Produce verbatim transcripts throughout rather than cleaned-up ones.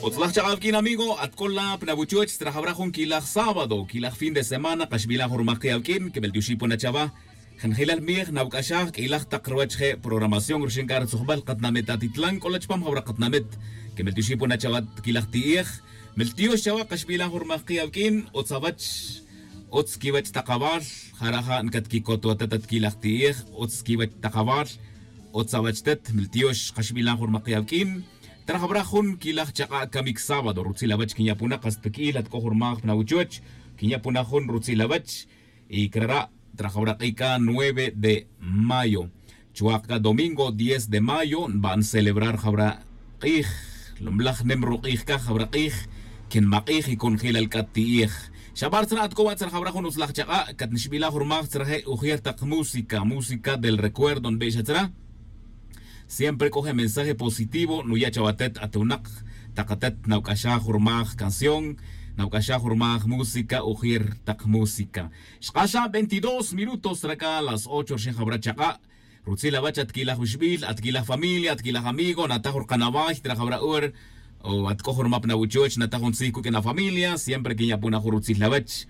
Utzlaj chak'a awuq'uin amigo, at c'o la pa na wuchoch tzra jawra jun quilaj sábado quilaj fin de semana kaxbilan jun rumak ki' awuq'uin quimel tioxi' pona chawa. Jenjelal mij nawuc'axaj q'uilaj tak ruwech je' programación ruxin c'a rutzujbal katinamit atitlan c'o la chupam jawra katinamit. Quimel tioxi' pona chawa quilaj ti'ej. Mel tiox chawa kaxbilan jun rumak ki' awuq'uin. Utz awech. Utz quiwech tak awal. Jara' ja' ncatquicot wa tet at quilaj ti'ej. Utz quiwech tak awal. Utz awech tet mel tiox kaxbilan jun rumak ki' awuq'uin. Trajawra jun quilaj chak'a' camic sábado rutzil awech quinya' puna kasta piq'uil at c'o jun rumaj pa na wuchoch. Quinya' puna jun rutzil awech. Y crara' trajawra k'i c'a nueve de mayo. Chuwak c'a domingo diez de mayo nba'n celebrar jawra k'ij. Lumlaj nim ruk'ij c'a jawra k'ij. Quinmak'ij y conjelal c'a ti'ij. Xabar tzra' at c'o wa' tzrajawra jun utzlaj chak'a' catnixbilaj jun rumaj tzraje' ujier tak música música del recuerdo nbix atzra. Siempre c'o je' mensaje positivo nuya' chawa tet at winak. Tak atet nawc'axaj jun rumaj canción. Nawc'axaj jun rumaj música ujier tak música. Xk'axan veintidós minutos tzra c'a las ocho rxin jawra chak'a'. Rutzil awech at quilaj wixbil at quilaj familia at quilaj amigo nataj rukanaway tzra jawra hor. O at c'o jun rumap na wuchoch nataj jun tzij cuq'uin afamilia siempre quinya' puna jun rutzil awech.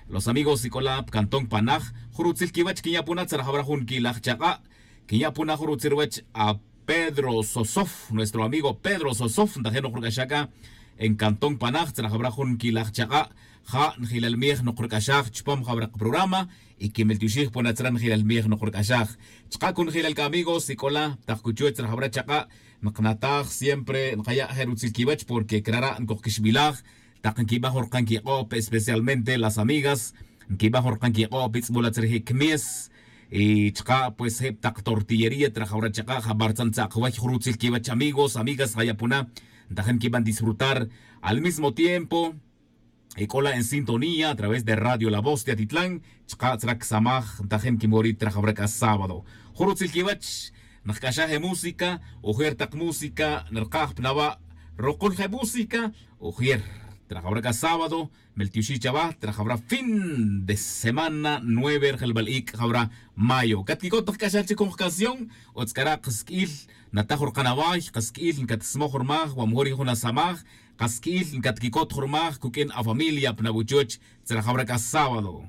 Los amigos y c'o la pa cantón panaj jun rutzil quiwech quinya' puna tzra jawra jun quilaj chak'a'. Quinya' puna jun rutzil ruwech a pedro sosof nuestro amigo pedro sosof ntajin nukruc'axaj c'a. En cantón panaj tzra jawra jun quilaj chak'a'. Ja' njelal mij nukruc'axaj chupam jawra kaprograma. Y quimel tioxij pona tzra njelal mij nukruc'axaj. Chka' conjelal c'a amigos y c'o la tak cuchuwech tzra jawra chak'a'. Nknataj siempre nkaya' je' rutzil quiwech porque crara' ncuj quixbilaj. Tak nquiban jun rkan quik'o'p especialmente las amigas nquiban jun rkan quik'o'p itz'bul atzra je' quimies. Y chka' pues je' tak tortillería trajawra chaka' jabar tzan tza'kaway jun rutzil quiwech amigos amigas jaya' puna. Ntajin nquiban disfrutar al mismo tiempo. Y c'o la en sintonía a través de radio la voz de atitlan. Chka' tzra csamaj ntajin quimorit trajawra c'a sábado jun rutzil quiwech. Nkac'axaj je música ujier tak música nrkaj pa nawa'. Rukul je música ujier trajawra c'a sábado. Meltioxij chawa trajawra fin de semana nueve rjelbal ic' jawra mayo catquicot tak c'axal chic jun jcanción. Utz c'ara' kasq'uil nataj jun rkanaway kasq'uil ncatsmoj rmaj wa mejor yin jun asamaj. Kasq'uil ncatquicot jun rmaj cuq'uin afamilia pa nabuchoch. Tzrajawra c'a sábado.